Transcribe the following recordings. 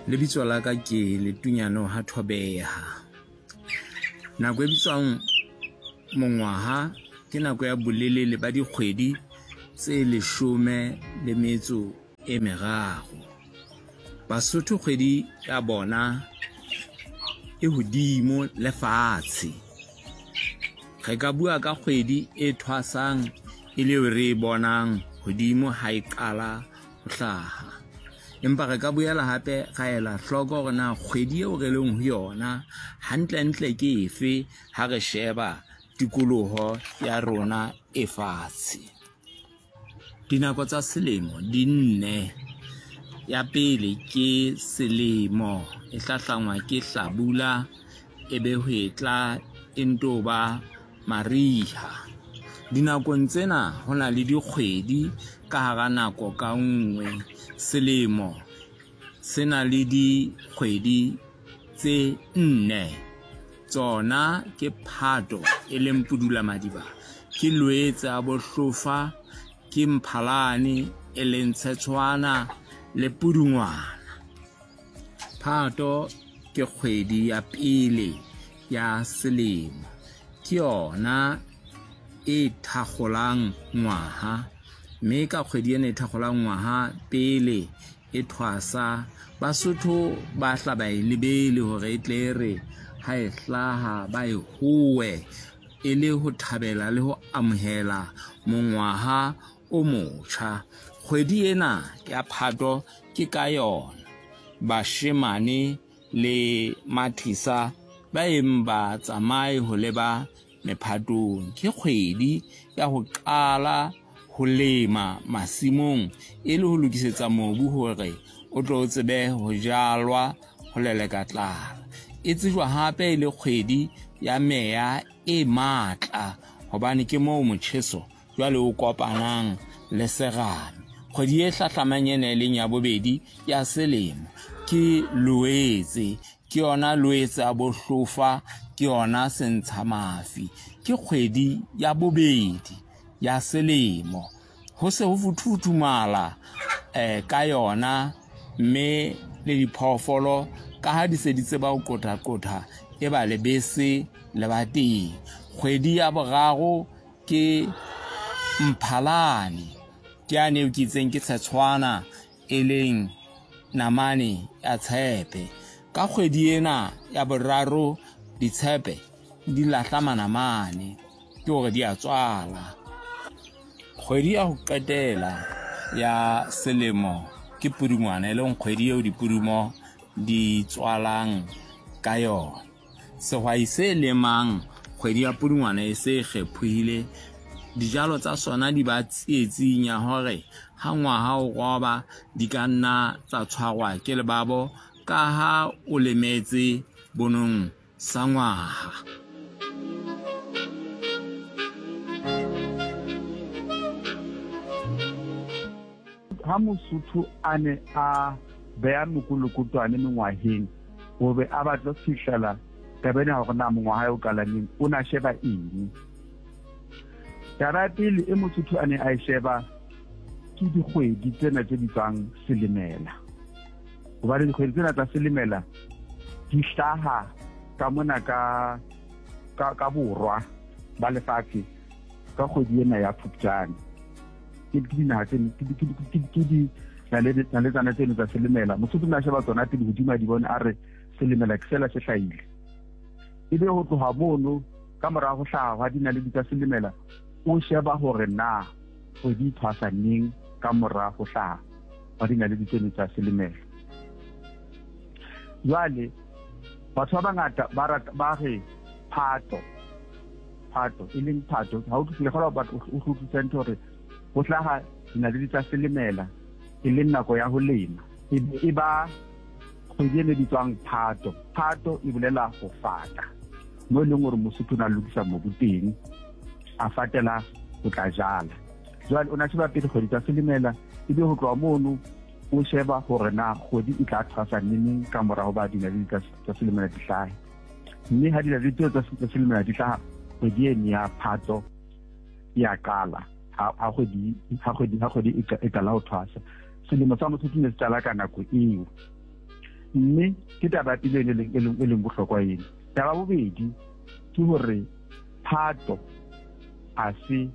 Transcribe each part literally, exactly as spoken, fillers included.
Lebitso la ka ke Letunyane ha Thobeha. Nako e bitswang mongwaha ke nako ya bolelele ba dikgwedi tse leshome le metso e meraro. Basotho kgwedi ya bona e hodimo le fatshe. Re ka bua ka kgwedi e thwasang e le eo re e bonang hodimo ha e qala ho hlaha. Empa re ka boela hape ra ela hloko hore na kgwedi eo re leng ho yona hantlentle ke efe ha re sheba tikoloho ya rona e fatshe. Dinako tsa selemo di nne. Ya pele ke selemo, e hlahlangwa ke hlabula, e be hwetla e nto ba mariha. Dinakong tsena ho na le dikgwedi ka hara nako ka nngwe. Selemo se na le dikgwedi tse nne. Tsona ke Phato e leng Pudula Madiba, ke Loetse a Bohlofa, ke Mphalane e leng Tshetshwana le Pudungwana. Phato ke kgwedi ya pele ya selemo, ke yona e thakgolang ngwaha, mme ka kgwedi ena e thakgolang ngwaha pele e thwasa, Basotho ba hla ba e lebele hore e tle re ha e hlaha ba e howe e le ho thabela le ho amohela mongwaha o motjha. Kgwedi ena ya Phato ke ka yona bashemane le mathisa ba eng ba tsamaye ho leba mephatong. Ke kgwedi ya ho qala ho lema masimong e le ho lokisetsa mobu hore o tlo o tsebe ho jalwa ho leleka tlala. E tsejwa hape e le kgwedi ya meya e matla hobane ke moo motjheso jwale o kopanang le serame. Kgwedi e hlahlamang ena e leng ya bobedi ya selemo ke Loetse, ke yona Loetse a Bohlofa, ke yona Sentshamafi. Ke kgwedi ya bobedi ya selemo. Ho se ho futhufuthumala eh, ka yona, mme le diphoofolo ka ha di se di tseba ho qothaqotha e ba lebese le ba teng. Kgwedi ya boraro ke Mphalane, ke yane eo ke itseng ke Tshetshwana e leng namane ya tshepe. Ka kgwedi ena ya boraro ditshepe di lahla manamane, ke hore di a tswala. Kgwedi ya ho qetela ya selemo ke Pudungwana, e leng kgwedi eo dipudumo di tswalang ka yona. Sehwai se lemang kgwedi ya Pudungwana e se kgephohile, dijalo tsa sona di ba tsietsing ya hore ha ngwaha o roba di ka nna tsa tshwarwa ke lebabo ka ha o lemetse bonong sa ngwaha. Ha Mosotho a ne a beha mokolokotwane mengwaheng o be a batla ho fihlela taba ena hore na mongwaha o qala neng, o na sheba eng. Taba ya pele e Mosotho a ne a e sheba ke dikgwedi tsena tse bitswang selemela, hobane dikgwedi tsena tsa selemela di hlaha ka mona ka ka ka borwa ba lefatshe ka kgwedi ena ya Phupjane. Ke dinaha tse ke di naletsana tseno tsa selemela. Mosotho o ne a sheba tsona pele hodimo a di bone a re selemela ke sela se hlahile. Ebe ho tloha mono ka mora ho hlaha hwa dinaledi tsa selemela, o sheba hore na kgwedi e thwasa neng ka mora ho hlaha hwa dinaledi tseno tsa selemela. Jwale batho ba bangata ba rata ba re Phato, Phato e leng Phato ha o utlwisise kgola batho o utlwisisa ntho hore ho hlaha dinaledi tsa selemela e leng nako ya ho lema, e e ba kgwedi e bitswang Phato. Phato e bolela ho fata, mo e leng hore Mosotho o na lokisa mobu teng a fatela ho tla jala. Jwale o na sheba pele kgwedi tsa selemela, ebe ho tloha mono o sheba hore na kgwedi e tla thwasa neneng ka mora ho ba dinaledi tsa selemela di hlahe. Mme ha dinaledi tseo tsa selemela di hlaha, kgwedi eno ya Phato ya qala. Ha kgwedi ha kgwedi ha kgwedi e qala ho thwasa. Selemo sa Mosotho ne se qala ka nako eo. Mme ke taba ya pele e leng bohlokwa ena. Taba bobedi ke hore Phato a se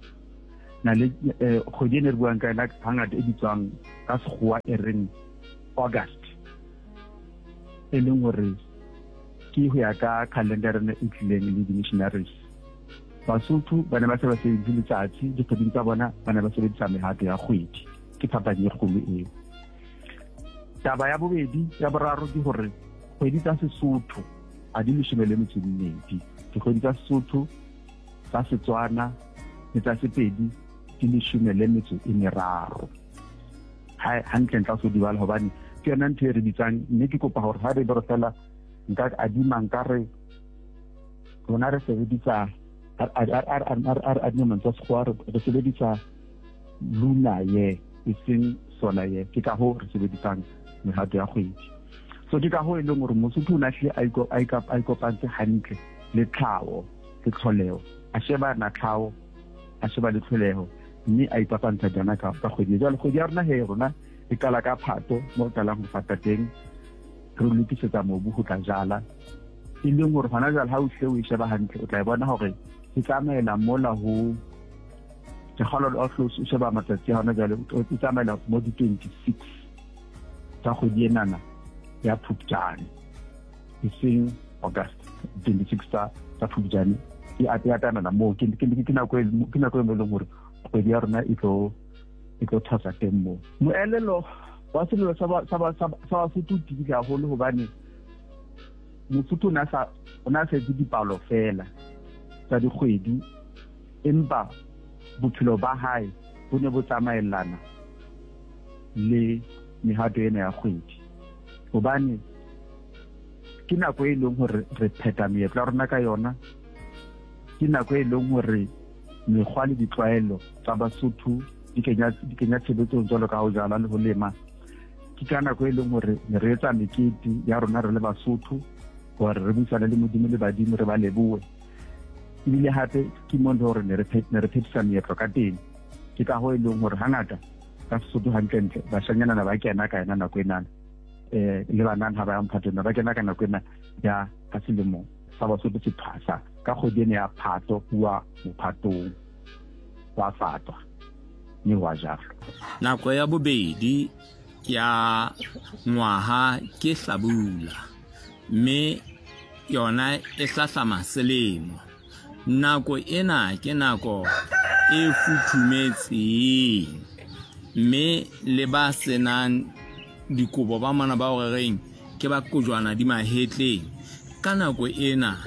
na le kgwedi e ne re buang ka yona hangata e bitswang ka sekgowa e reng August, e leng hore ke ho ya ka calendar ena e tlileng le di-missionaries. Basotho ba ne ba se ba sebedise letsatsi dikgweding tsa bona, ba ne ba sebedisa mehato ya kgwedi. Ke phapang e kgolo eo. Taba ya bobedi ya boraro ke hore kgwedi tsa Sesotho ha di leshome le metso e mmedi. Dikgwedi tsa Sesotho, tsa Setswana le tsa Sepedi di leshome le metso e meraro. Hantle ntle o so di bala hobane ke yona ntho e re bitsang, mme ke kopa hore ha re be re fela nka adima nka re rona re sebedisa a re adima mantswe a sekgowa, re sebedisa lunar year e seng solar year. Ke ka hoo re sebedisang mehato ya kgwedi. So ke ka hoo e leng hore Mosotho o ne a hlile a ikopantse hantle le tlhaho le tlholeho, a sheba na tlhaho, a sheba le tlholeho, mme a ipapantsha jana ka kgwedi. Jwale kgwedi ya rona he rona e qala ka Phato mo re qalang ho fata teng, re lokisetsa mobu ho tla jala. E leng hore hona jwale ha o hle o e sheba hantle o tla e bona hore e tsamaela mola ho ke kgolwa o hle o sheba matsatsi a hona jwale, e tsamaela mo di twenty-six tsa kgwedi enana ya Phupjane, e seng August. Twenty-six tsa tsa Phupjane e atamela moo. Ke nako e ke nako e leng hore kgwedi ya rona e tlo e tlo thwasa teng moo. Moelelo wa selelo sa sa Basotho o tibile haholo hobane Mosotho o ne a sa o ne a sa etse dipalo fela tsa dikgwedi, empa bophelo ba hae bo ne bo tsamaellana le mehato ena ya kgwedi. Hobane ke nako e leng hore re phetha meetlo ya rona ka yona, ke nako e leng hore mekgwa le ditlwaelo tsa Basotho di kenya di kenya tshebetsong jwalo ka ho jala le ho lema. Ke ka nako e leng hore ne re etsa mekete ya rona re le Basotho hore re buisane le Modimo le badimo, re ba lebohe. Ebile hape ke mo le hore ne re ne re phethisa meetlo ka teng. Ke ka hoo e leng hore hangata ka Sesotho hantlentle bashanyana ba kena ka yona nako enana, eh le banana ha ba ya mphatong ba kena ka nako ena ya ka selemo sa Basotho se thwasa ka kgwedi ena ya Phato, huwa mophatong wa fatwa mme wa jalwa. Nako ya bobedi ya ngwaha ke hlabula, mme yona e hlahlama selemo. Nako ena ke nako e futhumetseng, mme le ba senang dikobo ba mona ba o reng ke ba kojwana di mahetleng, ka nako ena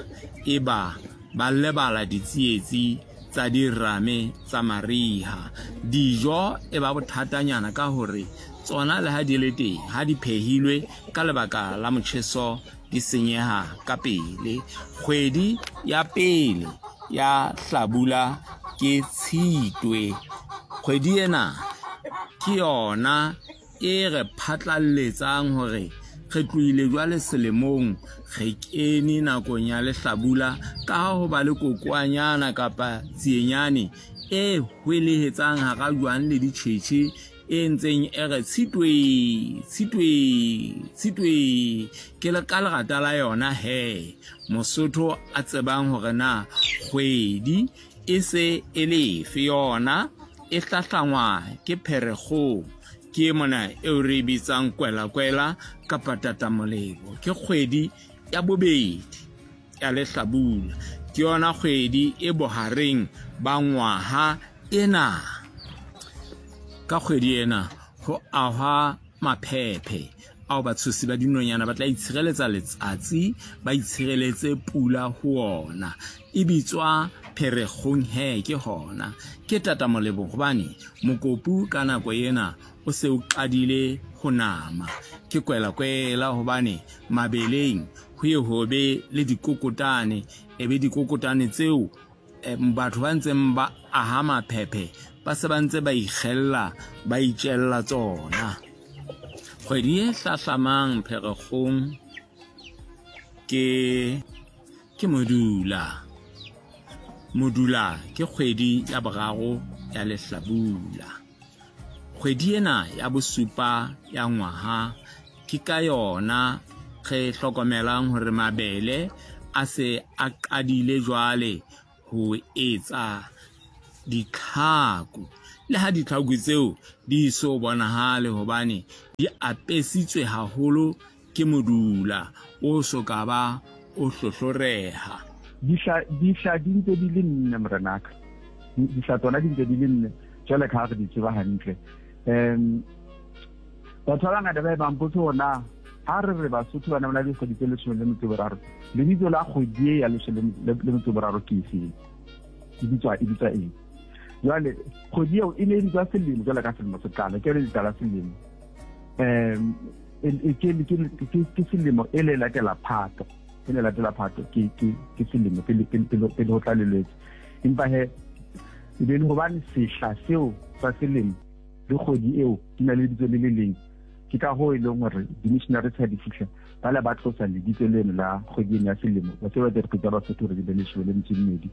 e ba ba lebala ditsietsi tsa dirame tsa mariha. Dijo e ba bothatanyana ka hore tsona le ha di le teng, ha di phehilwe ka lebaka la motjheso di senyeha ka pele. Kgwedi ya pele ya hlabula ke Tshitwe. Kgwedi ena ke yona e re phatlalletsang hore re tlohile jwale selemong, re kene nakong ya lehlabula, ka ha ho ba le kokwanyana kapa tsienyane e hwelehetsang hara jwang le ditjhetjhe e ntseng e re Tshitwe, Tshitwe, Tshitwe. Ke le ka lerata la yona he Mosotho a tsebang hore na kgwedi e se e lefe yona e hlahlangwa ke Pherekgong, ke mona eo re bitsang kwela-kwela kapa tatamolebo. Ke kgwedi ya bobedi ya lehlabula, ke yona kgwedi e bohareng ba ngwaha ena. Ka kgwedi ena ho ahwa maphephe ao batshosi ba dinonyana ba tla itshireletsa letsatsi, ba itshireletse pula ho ona. E bitswa Pherekgong he ke hona. Ke tatamolebo hobane mokopu ka nako ena o se o qadile ho nama. Ke kwela-kwela hobane mabeleng ho ye ho be le dikokotane, e be dikokotane tseo batho ba ntseng ba aha maphephe ba se ba ntse ba ikgella, ba itjella tsona. Kgwedi e hlahlamang Pherekgong ke ke Modula. Modula ke kgwedi ya boraro ya lehlabula. Kgwedi ena ya bosupa ya ngwaha ke ka yona re hlokomelang hore mabele a se a qadile jwale ho etsa ditlhaku. Le ha ditlhaku tseo di so bonahale hobane di apesitswe haholo ke modula o so ka ba o hlohloreha. Dihla dihla di ntse di le nne morenaka. Dihla tsona di ntse di le nne jwale ka ha re di tseba hantle. Um batho ba bangata ba e bang potso hore na ha re re Basotho ba ne ba na le dikgwedi tse leshome le metso e boraro, lebitso la kgwedi e ya leshome le metso e boraro ke efeng? E bitswa e bitswa eng? Jwale kgwedi eo e ne e bitswa selemo jwale ka selemo se qala, ke yone la selemo. Um ke selemo e le latela Phato, e le latela Phato ke ke ke selemo pele pele pele ho tla le Lwetse. Empa he e be le hobane sehla seo sa selemo le kgwedi eo di na le lebitso le le leng, ke ka hoo e leng hore di-missionaries ha di fihla ba le ba tlosa lebitso leno la kgwedi eno ya selemo, ba se ba dikgwedi tsa Basotho hore di be leshome le metso e mmedi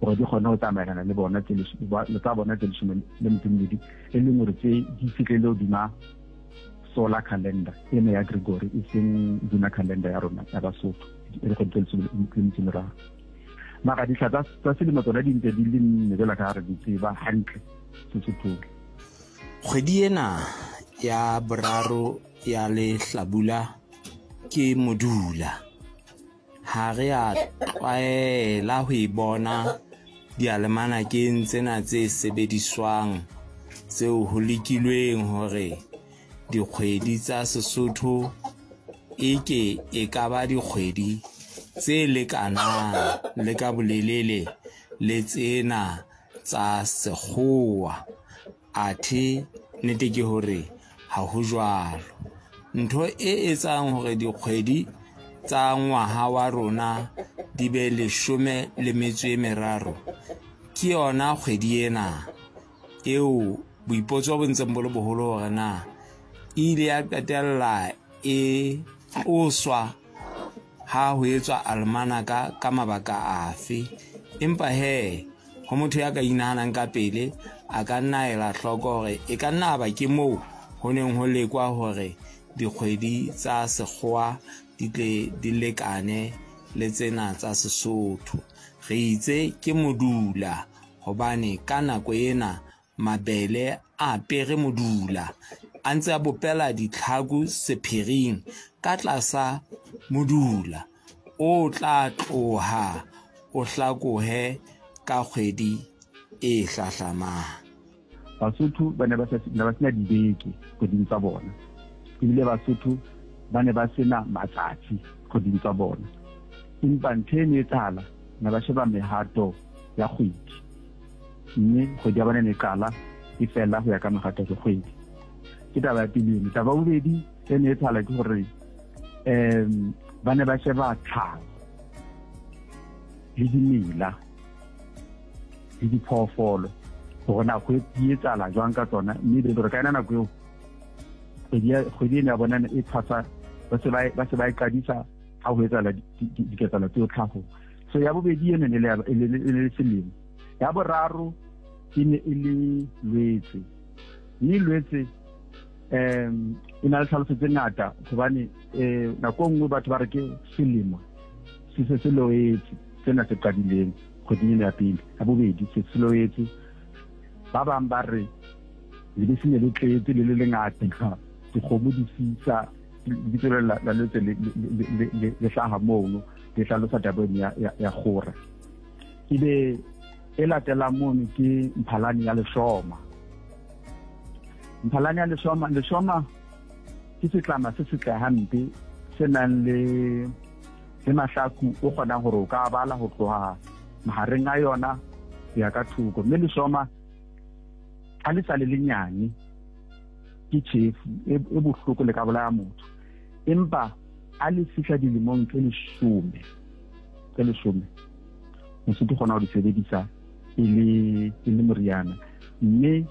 hore di kgone ho tsamaelana le bona tse tsa bona tse leshome le metso e mmedi, e leng hore tse di fihlele hodima solar calendar ena ya Gregory, e seng lunar calendar ya rona ya Basotho e le kgwedi tse leshome le metso e meraro. Mara dihla tsa selemo tsona di ntse di le nne jwalo ka ha re di tseba hantle Sesothong. Kgwedi ena ya boraro ya lehlabula ke modula. Ha re a tlwaela ho e bona dialemanakeng tsena tse sebediswang tseo ho lekilweng hore dikgwedi tsa Sesotho eke e ka ba dikgwedi tse lekanang le ka bolelele le tsena tsa sekgowa. Athe nnete ke hore ha ho jwalo. Ntho e etsang hore dikgwedi tsa ngwaha wa rona di be leshome le metso e meraro ke yona kgwedi ena eo boipotso bo ntseng bo le boholo hore na e ile ya qetella e tloswa ha ho etswa almanaka ka mabaka afe. Empa he ho motho ya ka inahanang ka pele a ka nna ela hloko hore e ka nna ba ke moo ho neng ho lekwa hore dikgwedi tsa sekgowa di tle di lekane le tsena tsa Sesotho. Re itse ke modula hobane ka nako ena mabele a apere modula, a ntse a bopela ditlhaku sephiring ka tlasa modula o tla tloha o hlakohe ka kgwedi e hlahlamang. Basotho ba ne ba sena dibeke kgweding tsa bona, ebile Basotho ba ne ba sena matsatsi kgweding tsa bona. Empa ntho e ne etsahala, ne ba sheba mehato ya kgwedi, mme kgwedi ya bona ne qala e fela ho ya ka mehato ya kgwedi. Ke taba ya pele eno. Taba ya bobedi e ne etsahala ke hore um ba ne ba sheba tlhaho le dimela le diphoofolo hore na ho etsahala jwang ka tsona, mme e be hore ka yona nako eo kgwedi ena ya bona e tshwasa, ba se ba se ba e qadisa ha ho etsahala diketsahalo tseo tlhahong. So ya bobedi eno e ne le selemo. Ya boraro e ne e le Lwetse, mme Lwetse um e na le tlhaloso tse ngata hobane um nako e nngwe batho ba re ke selemo se se se loetse sena se qadileng kgweding ena ya pele. Ya bobedi se se loetse, ba bang ba re lebese ne le tletse le le lengata, dikgomo di fisa, lebitso la Lwetse le hlaha mono, le hlalosa taba eno ya kgora. Ebe e latelang mono ke Mphalane ya Leshoma. Mphalane ya Leshoma, Leshoma ke setlama se setle hampe se nang le le mahlaku o kgonang hore o ka bala ho tloha mahareng a yona ho ya ka thoko. Mme leshoma ha le sa le lenyane ke tjhefu e bohloko le ka bolaya motho, empa ha le fihla dilemong tse leshome tse leshome mosotho kgona ho di sebedisa e le e le moriana. Mme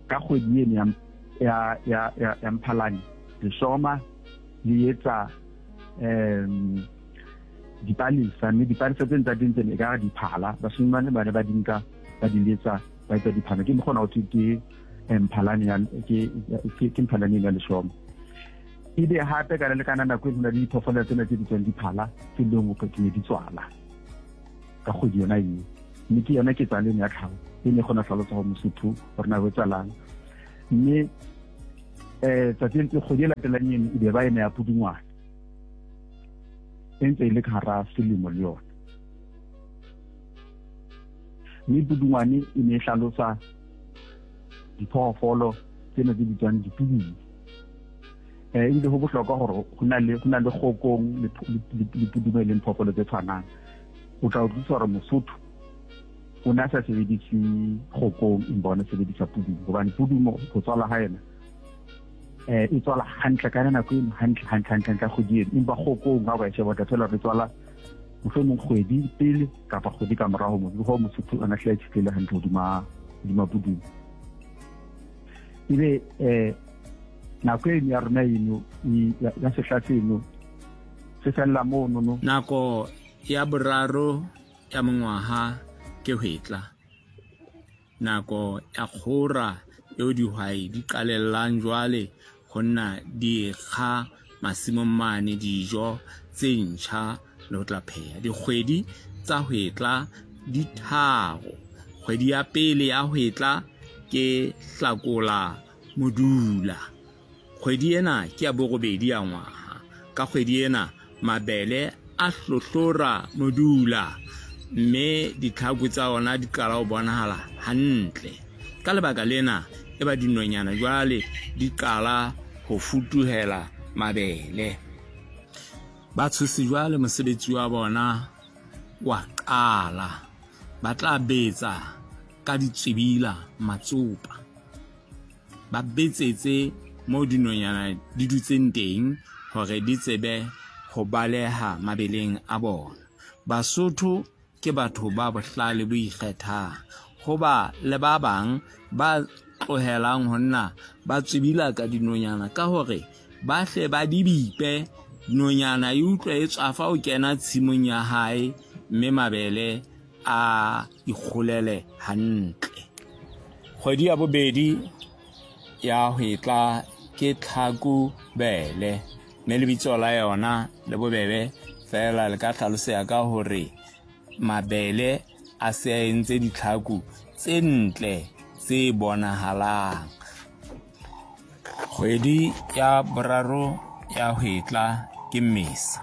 ka kgwedi eno ya ya ya ya Mphalane leshoma le etsa um dipalesa, mme dipalesa tse tsa teng tsene e ka diphala, bashemane ba ne ba di nka ba di letsa ba etsa diphala. Ke mokgona ho thwe ke Mphalane ya ke ke Mphalane ya leshoma. Ebe hape ka le kana nako e hona le diphoofolo tsena tse bitswang diphala tse leng hore di ne di tswala ka kgwedi yona eo. Mme ke yona ketsahalo eno ya tlhaho e ne kgona ho hlalosa hore Mosotho hore na ho etsahalang. Mme eh tsatsi le kgwedi e latelang eno e be ba ena ya Pudungwana, e ntse e le ka hara selemo le yona. Mme Pudungwane e ne e hlalosa diphoofolo tsena tse bitswang dipudung. Eh ebile ho bohlokwa hore ho na le ho na le kgokong le le pudumo e leng phoofolo tse tshwanang. O tla utlwisisa hore Mosotho o ne a sa sebedise kgokong empa o ne sebedisa pudumo, hobane pudumo ho tswala ha yona eh e tswala hantle ka nako eno, hantle hantle hantle hantle kgwedi eno. Empa kgokong ha o ka e sheba o tla thola hore e tswala mohlomong kgwedi pele kapa kgwedi ka morao ho moo. Ke Mosotho o ne a hlile a itshetlehile hantle hodima hodima pudumo. Ebe eh nako eno ya rona eno ya sehla seno se fella mono no. Nako ya boraro ya mongwaha ke hwetla, nako ya kgora eo dihwai di qalellang jwale ho nna di ekga masimong mane dijo tse ntjha le ho tla pheha. Dikgwedi tsa hwetla di tharo. Kgwedi ya pele ya hwetla ke Hlakola Modula. Kgwedi ena ke ya borobedi ya ngwaha. Ka kgwedi ena mabele a hlohlora modula, mme ditlhaku tsa ona di qala ho bonahala hantle. Ka lebaka lena e ba dinonyana jwale di qala ho futuhela mabele. Ba tshosi jwale mosebetsi wa bona wa qala. Ba tla betsa ka ditswibila matsopa, ba betsetse moo dinonyana di dutseng teng hore di tsebe ho baleha mabeleng a bona. Basotho ke batho ba bohlale bo ikgethang, hoba le ba bang ba tlohelang ho nna ba tswibila ka dinonyana ka hore ba hle ba di bipe. Nonyana e utlwe e tswafa ho kena tshimong ya hae, mme mabele a ikgolele hantle. Kgwedi ya bobedi ya hwetla ke Tlhakubele, mme lebitso la yona le bobebe feela le ka hlaloseha ka hore mabele a se a entse ditlhaku tse ntle tse bonahalang. Kgwedi ya boraro ya hwetla ke Mmesa.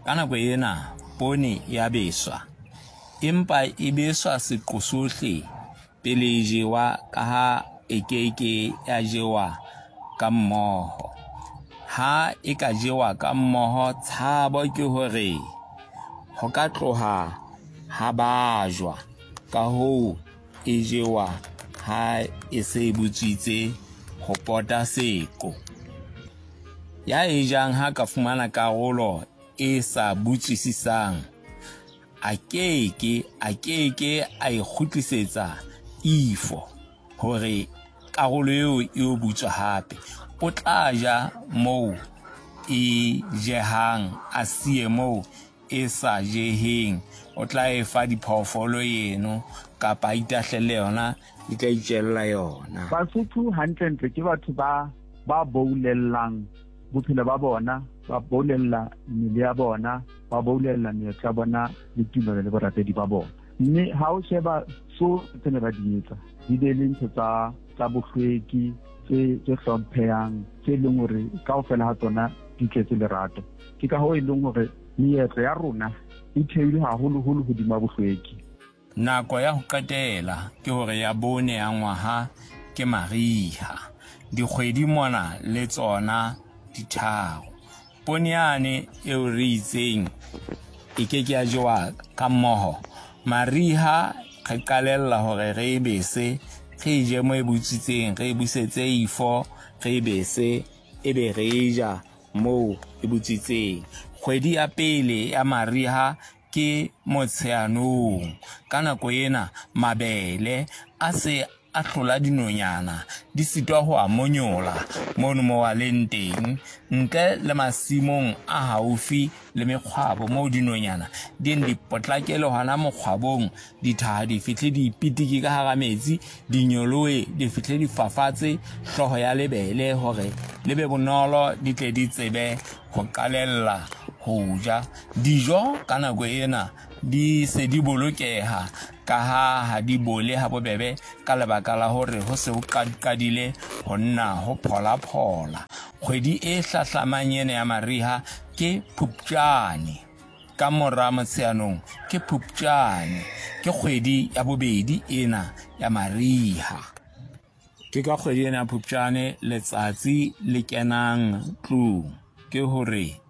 Ka nako ena poone ya beswa, empa e beswa seqo sohle pele e jewa, ka ha e keke ya jewa ka mmoho. Ha e ka jewa ka mmoho, tshabo ke hore ho ka tloha ha bajwa. Ka hoo e jewa ha e se e butswitse ho pota seqo. Ya e jang ha ka fumana karolo e sa butswisisang, a keke a keke a e kgutlisetsa ifo hore karolo eo e o butswa hape. O tla ja moo e jehang, a siye moo e sa jeheng. O tla e fa diphoofolo eno kapa a itahlele yona, di tla itjella yona. Basotho hantlentle ke batho ba ba boulellang bophelo ba bona, ba boulella mmele ya bona, ba boulella meetlo ya bona le tumelo le borapedi ba bona. Mme ha o sheba tsohle tse ne ba di etsa, di be le ntho tsa tsa bohlweki tse tse hlomphehang, tse leng hore kaofela ha tsona di tletse lerato. Ke ka hoo e leng hore meetlo ya rona e theilwe haholoholo hodima bohlweki. Nako ya ho qetela ke hore ya bone ya ngwaha ke mariha. Dikgwedi mona le tsona di tharo. Poone yane eo re itseng e keke ya jewa ka mmoho. Mariha re qalella hore re e bese, re e je moo e butswitseng, re e busetse ifo, re e bese, ebe re e ja moo e butswitseng. Kgwedi ya pele ya mariha ke Motsheanong. Ka nako ena mabele a se a hlola dinonyana di sitwa ho a monyola mono mo a leng teng, ntle le masimong a haufi le mekgwabo moo dinonyana di di potlakele hona mokgwabong, dithaha di fihle di pitiki ka hara metsi, di nyolohe di fihle di fafatse hlooho ya lebele hore le be bonolo di tle di tsebe ho qalella ho ja. Dijo ka nako ena di se di bolokeha ka ha ha di bole ha bobebe ka lebaka la hore ho se ho qadile ho nna ho phola-phola. Kgwedi e hlahlamang ena ya mariha ke Phupjane. Ka mora Motsheanong ke Phupjane, ke kgwedi ya bobedi ena ya mariha. Ke ka kgwedi ena ya Phupjane letsatsi le kenang tlung, ke hore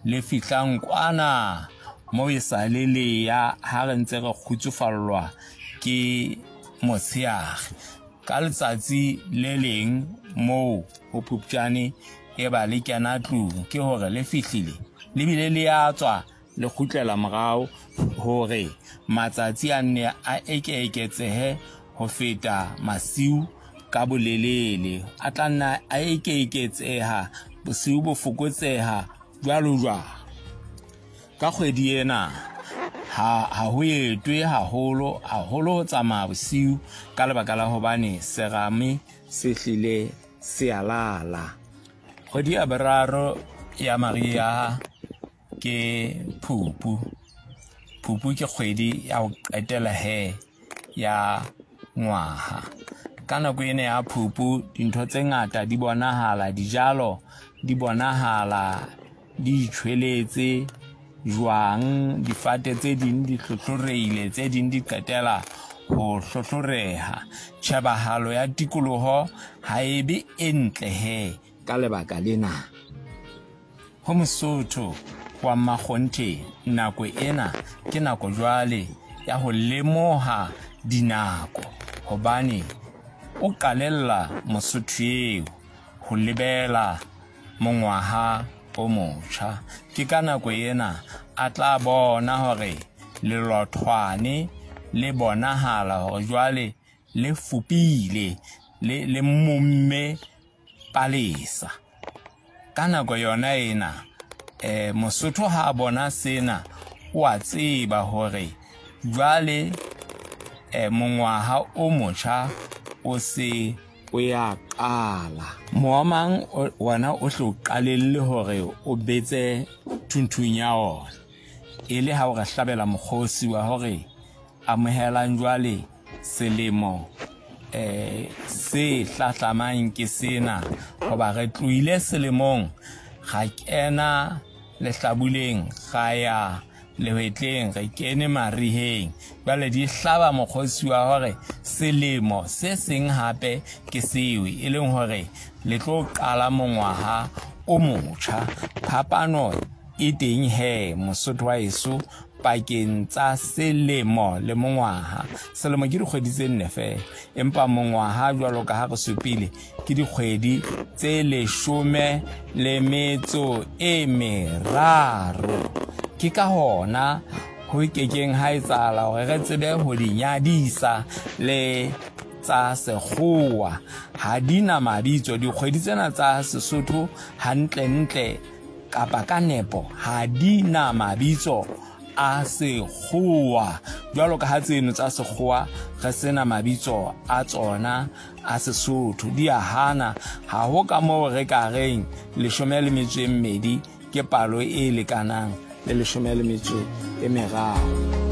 le fihlang kwana moo e sa le le ya ha re ntse re kgutsufallwa ke motsheare. Ka letsatsi le leng moo ho Phupjane e ba le kena tlung, ke hore le fihlile le bile le ya tswa le kgutlela morao hore matsatsi a nne a eke-eketsehe ho feta masiu ka bolelele, a tla nna a eke-eketseha, bosiu bo fokotseha jwalo jwalo. Ka kgwedi ena ha ha ho etwe haholo haholo ho tsamaya bosiu ka lebaka la hobane serame se hlile se a lala. Kgwedi ya boraro ya mariha ke Phupu. Phupu ke kgwedi ya ho qetela he ya ngwaha. Ka nako ena ya Phupu dintho tse ngata di bonahala, dijalo di bonahala di itjhweletse jwang, difate tse ding di hlohloreile, tse ding di qetela ho hlohloreha. Tjhebahalo ya tikoloho ha e be e ntle he ka lebaka lena. Ho Mosotho wa mmakgonthe, nako ena ke nako jwale ya ho lemoha dinako, hobane o qalella Mosotho eo ho lebela mongwaha o motjha. Ke ka nako ena a tla bona hore lelothwane le bonahala hore jwale le fupile, le le momme palesa. Ka nako yona ena eh Mosotho ha a bona sena o a tseba hore jwale eh mongwaha o motjha o se o ya qala. Moomang wona o hlo qalelle hore o betse thunthung ya ona, e le ha o re hlabela mokgosi wa hore amohelang jwale selemo eh se hlahlamang ke sena, hoba re tlohile selemong ra kena lehlabuleng, ra ya lehwetleng, re kene mariheng. Jwale di hlaba mokgosi wa hore selemo se seng hape ke seo, e leng hore le tlo qala mongwaha o motjha. Phapano e teng he Mosotho wa heso pakeng tsa selemo le mongwaha. Selemo ke dikgwedi tse nne feela, empa mongwaha jwalo ka ha re supile ke dikgwedi tse leshome le metso e meraro. Ke ka hona ho kekeng ha etsahala hore re tsebe ho di nyadisa le tsa sekgowa. Ha di na mabitso dikgwedi tsena tsa Sesotho hantlentle kapa ka nepo, ha di na mabitso a sekgowa jwalo ka ha tseno tsa sekgowa re sena mabitso a tsona a Sesotho. Di a hana, ha ho ka moo re ka reng leshome le metso e mmedi ke palo e lekanang le leshome le metso e meraro.